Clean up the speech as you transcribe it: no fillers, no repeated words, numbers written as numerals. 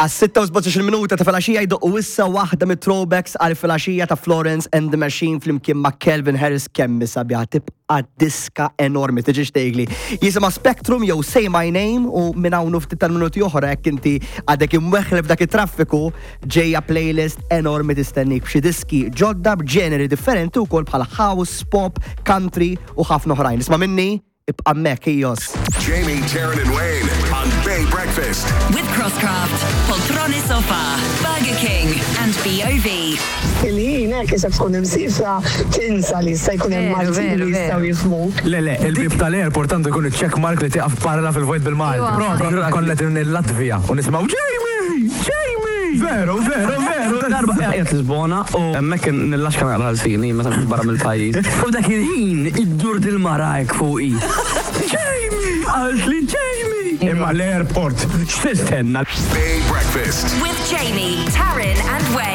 Għas-6 u minuta ta' filgħaxija jdoqqu issa waħda mit-throwbacks għal filgħaxija ta' Florence and the Machine flimkien ma' Calvin Harris kemm sabiħa tibqa' diska enormi tiġix tgħidli. Jisimha Spectrum jew Say My Name u minn hawn u ftit tal-minuti oħra jekk inti għadek imweħħel f'dak it-traffiku ġejja playlist enormi tistennik b'xi diski ġodda b'ġeneri differenti wkoll bħal house, pop, country u ħafna oħrajn. Isma' minni, ibqa' hemmhekk ijos. Jamie, Taryn, and Wayne on Bay Breakfast. With Crosscraft, Poltrone Sofa, Burger King, and BOV. Il-ħin hekk isek tkun imsifra tinsa li jista' jkun hemm Maltin li jistgħu jifhmuk. Le, le, il-bieb tal-airport għandu jkun iċ-check mark li tieqaf parla fil-vojt bil-Malti. Propju konna qegħdin il-Latvija u nisimgħu Jamie! Jamie! Veru, veru, veru. Darba qiegħed Lisbona u hemmhekk nillaxka naqra lsini meta nkun barra mill-pajjiż. U dak il-ħin iddur dil-mara hekk fuqi. Jamie! Qaltli Jamie! Imma l-airport x'tistenna? Bay Breakfast. With Jamie, Taryn, and Wayne.